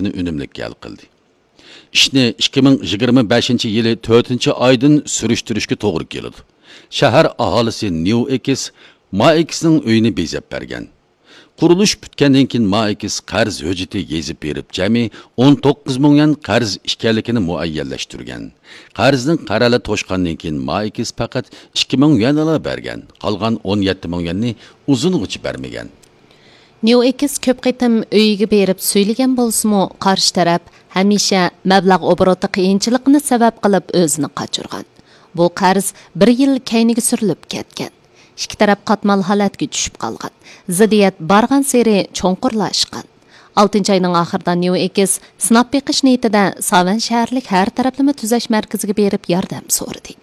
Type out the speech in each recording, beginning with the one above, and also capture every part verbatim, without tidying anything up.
ئۈنۈملۈك ھەل قىلدى. ئىشنى ئىككى مىڭ يىگىرمە بەشىنچى يىلى تۆتىنچى ئايدىن سۈرۈشتۈرۈشكە توغرا كېلىدۇ. شەھەر ئاھالىسى نيۇ ئېكس ما ئېكسنىڭ ئۆيىنى بېزەپ بەرگەن. قۇرۇلۇش پۈتكەندىن كېيىن ما ئېكس قەرز ھۆججىتى يېزىپ بېرىپ، جەمئىي ئون توققۇز مىڭ يۈەن قەرز ئىكەنلىكىنى مۇئەييەنلەشتۈرگەن. قەرزنىڭ قەرەلى توشقاندىن كېيىن ما ئېكس پەقەت ئىككى مىڭ يۈەنلا بەرگەن، قالغان ئون يەتتە مىڭ يۈەننى ئۇزۇنغىچە بەرمىگەن. نيۇ ئېكس كۆپ قېتىم ئۆيىگە بېرىپ سۈيلىگەن بولسىمۇ، قارشى تەرەپ ھەمىشە مەبلەغ ئوبوروتى قىيىنچىلىقىنى سەۋەب قىلىپ ئۆزىنى قاچۇرغان. بۇ قەرز بىر يىل كەينىگە سۈرۈلۈپ كەتكەن. ئىككى تەرەپ قاتمال ھالەتكە چۈشۈپ قالغان. زىددىيەت بارغانسېرى چوڭقۇرلاشقان. ئالتىنچى ئاينىڭ ئاخىرىدا نيۇ ئېكس سىناپ بېقىش نىيىتىدە ساۋەن شەھەرلىك ھەر تەرەپلىمە تۈزەش مەركىزىگە بېرىپ ياردەم سورىدى.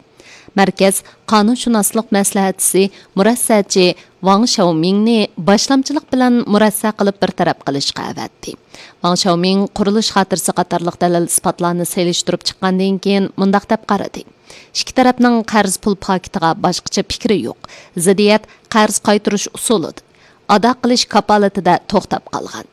مەركەز قانۇنشۇناسلىق مەسلىھەتچىسى، مۇرەسسەچى ۋاڭ شياۋمىڭنى باشلامچىلىق بىلەن مۇرەسسە قىلىپ بىر تەرەپ قىلىشقا ئەۋەتتى. ۋاڭ شياۋمىڭ قۇرۇلۇش خاتىرىسى قاتارلىق دەلىل-ئىسپاتلارنى سېلىشتۇرۇپ چىققاندىن كېيىن مۇنداق دەپ قارىدى: ئىككى تەرەپنىڭ قەرز پۇل پاكىتىغا باشقىچە پىكرى يوق. زىددىيەت قەرز قايتۇرۇش ئۇسۇلىدا، ئادا قىلىش كاپالىتىدە توختاپ قالغان.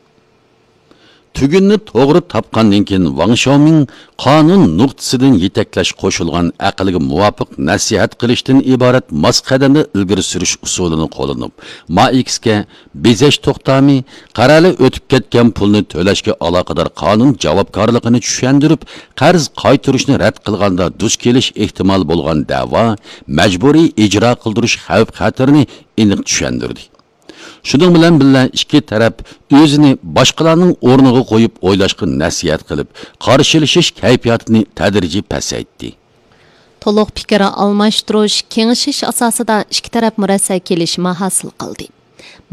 تۈگۈننى توغرا تاپقاندىن كېيىن، ۋاڭ شياۋمىڭ قانۇن نۇقتىسىدىن يېتەكلەش قوشۇلغان ئەقىلگە مۇۋاپىق نەسىھەت قىلىشتىن ئىبارەت ماس قەدەمدە ئىلگىرى سۈرۈش ئۇسۇلىنى قوللىنىپ، ما ئېكسكە بېزەش توختامى، قەرەلى ئۆتۈپ كەتكەن پۇلنى تۆلەشكە ئالاقىدار قانۇن جاۋابكارلىقىنى چۈشەندۈرۈپ، قەرز قايتۇرۇشنى رەت قىلغاندا دۇچ كېلىش ئېھتىمال بولغان دەۋا، مەجبۇرىي ئىجرا قىلدۇرۇش خەۋپ-خەتىرىنى ئېنىق چۈشەندۈردى. شۇنىڭ بىلەن بىللە، ئىككى تەرەپ ئۆزىنى باشقىلارنىڭ ئورنىغا قويۇپ ئويلاشقا نەسىھەت قىلىپ، قارشىلىشىش كەيپىياتىنى تەدرىجىي پەسەيتتى. تولۇق پىكىر ئالماشتۇرۇش، كېڭىشىش ئاساسىدا ئىككى تەرەپ مۇرەسسە كېلىشىمى ھاسىل قىلدى.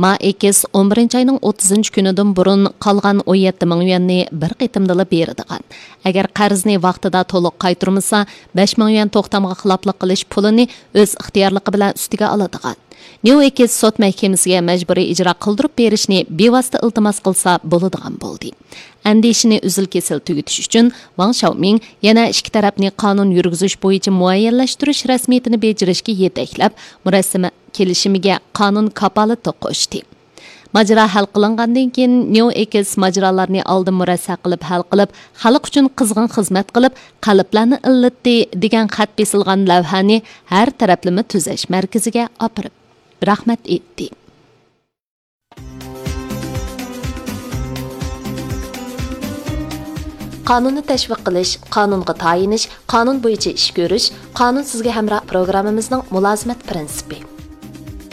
ما ئېكس ئون بىرىنچى ئاينىڭ ئوتتۇزىنچى كۈنىدىن بۇرۇن قالغان ئون يەتتە مىڭ يۈەننى بىر قېتىمدىلا بېرىدىغان، ئەگەر قەرزنى ۋاقتىدا تولۇق قايتۇرمىسا، بەش مىڭ يۈەن توختامغا خىلاپلىق قىلىش پۇلىنى ئۆز ئىختىيارلىقى بىلەن ئۈستىگە ئالىدىغان. نيۇ ئېكس سوت مەھكىمىسىگە مەجبۇرىي ئىجرا قىلدۇرۇپ بېرىشنى بىۋاسىتە ئىلتىماس قىلسا بولىدىغان بولدى. ئەندىشىنى ئۈزۈل-كېسىل تۈگىتىش ئۈچۈن، ۋاڭ شياۋمىڭ يەنە ئىككى تەرەپنى قانۇن يۈرگۈزۈش بويىچە مۇئەييەنلەشتۈرۈش رەسمىيىتىنى بېجىرىشكە يېتەكلەپ، مۇرەسسە كېلىشىمىگە قانۇن كاپالىتى قوشتى. ماجىرا ھەل قىلىنغاندىن كېيىن، نيۇ ئېكس ماجىرالارنى ئالدىن مۇرەسسە قىلىپ ھەل قىلىپ، خەلق ئۈچۈن قىزغىن خىزمەت قىلىپ، قەلبلەرنى ئىللىتتى دېگەن خەت بېسىلغان لەۋھەنى ھەر تەرەپلىمە تۈزەش مەركىزىگە ئاپىرىپ، رەھمەت ئېيتتى. قانۇننى تەشۋىق قىلىش، قانۇنغا تايىنىش، قانۇن بويىچە ئىش كۆرۈش، قانۇن سىزگە ھەمراھ پروگراممىمىزنىڭ مۇلازىمەت پىرىنسىپى.